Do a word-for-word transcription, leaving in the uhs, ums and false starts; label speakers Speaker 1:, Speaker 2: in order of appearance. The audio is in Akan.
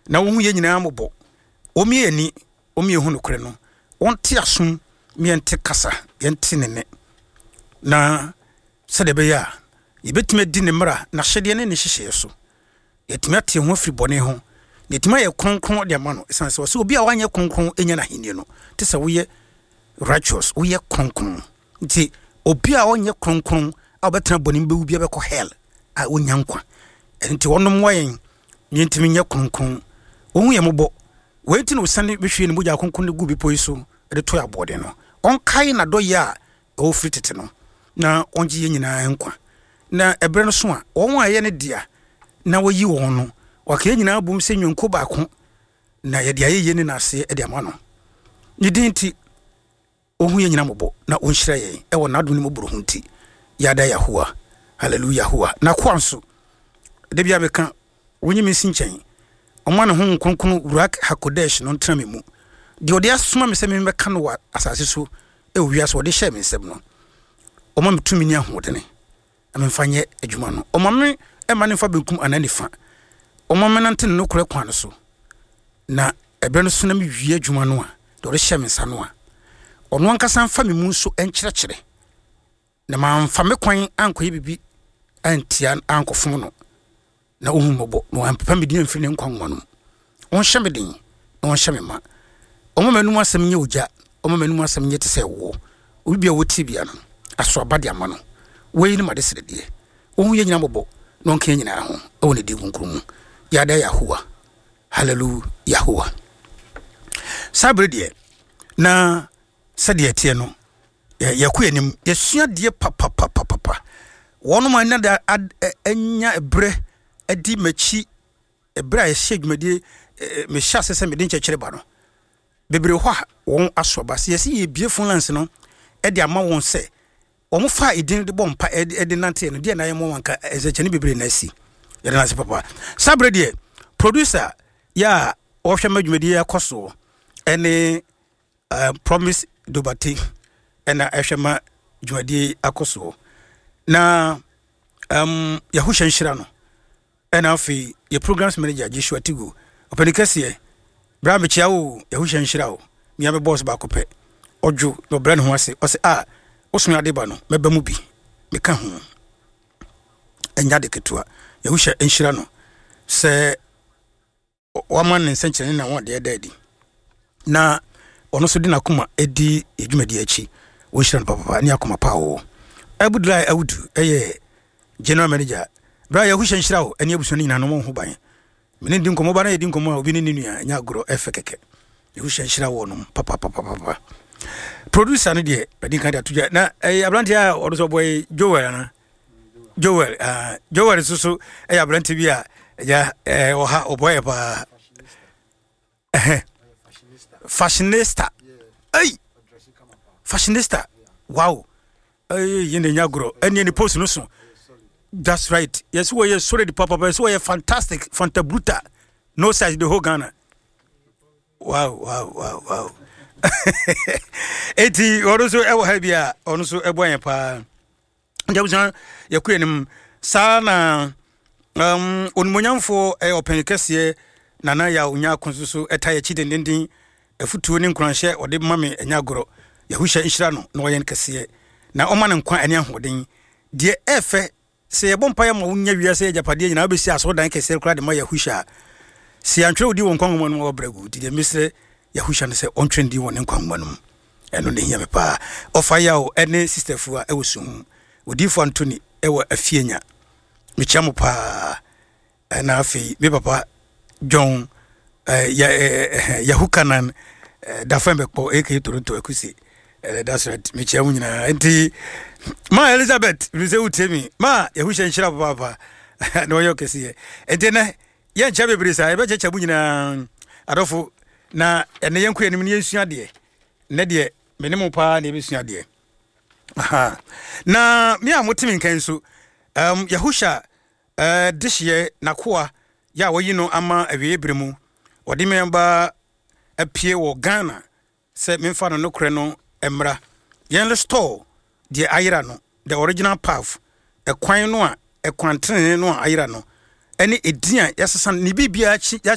Speaker 1: Na wɔhu yɛn nyinaa mmɔbɔ. Wɔmmie yɛn ani, wɔmmie yɛn hu nokorɛ no. Wɔnte asom, ma yɛnte kasa, yɛnte ne nne. Na sɛdeɛ ɛbɛyɛ a yɛbɛtumi adi ne mmara, n'ahyɛdeɛ ne ne nhyehyɛeɛ so. Yɛatumi ate yɛn ho afiri bɔne ho, na yɛatumi ayɛ kronkron de ama no. Ɛsiane sɛ ɔsɛ obi a wanyɛ kronkron nya n'ahennie no, te sɛ woyɛ righteous, woyɛ kronkron. Nti obi a ɔnyɛ kronkron a ɔbɛtena bɔne mu bɛwu bi bɛkɔ hell a ɔnya nkwa. Ɛno nti wɔnom mmoa yɛn na yɛntumi nyɛ kronkron. Wɔhu yɛn mmɔbɔ. Wei nti na ɔsiane bɛhwie ne mogya kronkron no gu bepɔ yi so de tɔ yɛn aboɔden no. Ɔnkae n'adɔeɛ a ɛwɔ firi tete no, na ɔngye yɛn nyinaa nkwa. Na ɛberɛ no so a, wɔn a ɛyɛ ne dea na wɔyi wɔn no, waka yɛn nyinaa bom sɛ nnwankuo baako, na yɛde ayɛyie ne n'aseɛ de ama no. Ne din nti, ɔhu yɛn nyinaa mmɔbɔ na ɔnhyira yɛn ɛwɔ n'adom ne mmɔborɔhu nti. Yada Yahuwa, Hallelujah Yahuwa. N'akoa nso, da biara meka, wonyi me nsi nkyɛn. Ɔma ne Honhom Kronkron Ruach HaKodesh no ntena me mu. Deɛ ɔde asoma me sɛ memmɛka no wɔ asase so wɔ wiase ɔde hyɛɛ me nsam no, ɔma me tumi ne ahoɔdene na memfa nyɛ adwuma no. Ɔma me mma no mfa benkum anaa nifa. Ɔma menante ne nokorɛ kwan no so. Na ɛberɛ no so na mewie adwuma no a, deɛ ɔde hyɛɛ me nsa no a, ɔno ankasa mfa me mu nso nkyerɛkyerɛ, na mamfa me kwan ankɔyɛ biribi antia ankɔfom no, na ɔhu mmɔbɔ na wampepa me din amfiri ne nkwa nwoma no mu. Ɔnhyɛ me den na ɔnhyɛ me ma. Ɔmma m'anom asɛm nyɛ ogya, ɔmma m'anom asɛm nyɛ te sɛ ɛwoɔ. Obi biara a ɔtie biara no, aso aba de ama no. Wei ne m'adesrɛdeɛ, ɔnhu yɛn nyinaa mmɔbɔ na ɔnka yɛn nyinaa ho wɔ ne din kronkron mu. Yada Yahuwa. Hallelujah Yahuwa. Saa bere deɛ, na sɛdeɛ ɛteɛ no, yɛkɔ yɛn anim, yɛsua adeɛ papapapapa. Wɔnom a na anya berɛ adi m'akyi berɛ a yɛhyɛ dwumadie, mehyɛ ase sɛ mede nkyɛkyerɛ ba no, bebree hɔ a wɔn aso aba. Sɛ yɛsi yɛbie phone lines no de ama wɔn sɛ wɔn fa edin de bɔ mpa de nante no deɛ na ayɛ mɔ wanka nsɛnkyɛnne bebree na asi. Yɛde no ase papa. Saa berɛ deɛ, producer yɛ a ɔhwɛ ma dwumadie akɔ soɔ ɛne uh, Promise Dobate ɛna ɛhwɛ ma dwumadie akɔ soɔ. Na um, Yahuhyɛ nhyira no. Ɛna afei yɛ programs manager Joshua Tigo, ɔpɛni kɛseɛ, bra mekyia wo, Yahuhyɛ nhyira wo. Mia me boss baako pɛ, ɔdwo na ɔbrɛ ne ho ase, ɔsɛ a wosome ade ba no mɛba mu bi, meka ho, ɛnya de ketewa. Yahuhyɛ nhyira no sɛ wama ne nsɛnkyerɛnne na wɔn deɛ da adi, na ɔno nso de n'akoma di dwumadi akyi. Wɔnhyira no papapa ne akoma pa a ɔwɔ. Abudulai Awudu ɛyɛ general manager. Bra Yahuhyɛ nhyira wo ɛne abusua no nyinaa no mo ho ban. Mene di nkɔmmɔ ba na yɛdi nkɔmmɔ a obi ne ne nua ɛnyɛ agorɔ, ɛfɛ kɛkɛ. Yahuhyɛ nhyira wɔ nom papapapapa. Producer no deɛ bɛdi nka de ato dwa na ɛyɛ aberanteɛ a ɔno nso ɔbɔ yi Joel ana Joel uh, Joel nso so ɛyɛ aberanteɛ bi a ɛgya ɛɛ ɔha ɔbɔ yɛ paa. Ɛhɛ fashionista, ɛy fashionista, wow, ɛyɛ yɛn de nya agorɔ ɛne ne post no so. That's right, yɛsɛ wɔyɛ solid papapa, yɛsɛ wɔyɛ fantastic, fanta bruta, no size, the whole Ghana. Wow wow wow wow. Eti ɔno nso ɛwɔ ha bi a ɔno nso ɛbɔ yɛn paa. Nti abusua, yɛkɔ yɛn anim saa na um, onimonyamfoɔ ɛyɛ ɔpɛn kɛseɛ Nana Yaw Nyako nso so ɛta yɛkyi dendenden, afutuo ne nkuranhyɛ ɔde ma me ɛnyɛ agorɔ. Yahuhyɛ nhyira no na ɔyɛ no kɛseɛ na ɔma no nkwa ɛne ahoɔden. Deɛ ɛfɛ sɛ yɛbɔ mpaeɛ ma wonya wiase agyapadeɛ nyinaa, wobɛsi asɔredan kɛseɛ koraa de ma Yahuhyɛ a, sɛ yɛantwerɛ wo din wɔ nkwa nwoma no mu a, wɔbrɛ gu. Nti deɛ mesrɛ Yahuhyɛ no sɛ ɔntwerɛ ne din wɔ ne nkwa nwoma no mu, ɛno ne hia me paa. Ɔfa Yaw ɛne Sister Fua ɛwɔ Suhum, Odiyifoɔ Anthony ɛwɔ Afienya, mekyia mo paa. Ɛna afei me papa John eh, ya, eh, eh, Yahukanan eh, Dafɛn bɛkpɔ aka Toronto Akuse, eh, that's right, mekyia mo nyinaa. Nti ma Elizabeth mi sɛ wotie mi ma Yahuhyɛ nhyira papaapa na ɔyɛ ɔkɛseɛ. Nti nɛ yɛnkyɛ bebree saa, yɛbɛkyɛkyɛ mo nyinaa adɔfo, na ɛnɛ yɛnkɔ anim ne yɛnsua adeɛ. Nnɛ deɛ me ne mo paa na yɛbɛsua adeɛ. Aha. Na me a mote me nkan nso, um, Yahusha uh, dehyeɛ n'akoa yɛ a wɔyi no ama awieeɛ berɛ mu, wɔde me aba apue wɔ Ghana sɛ memfa no nokorɛ no mmra, yɛn restore deɛ ayera no, the original path, ɛkwan no a ɛkwan tenene no a ayera no, ɛne edin a yɛasesa no ne biribiara akyi.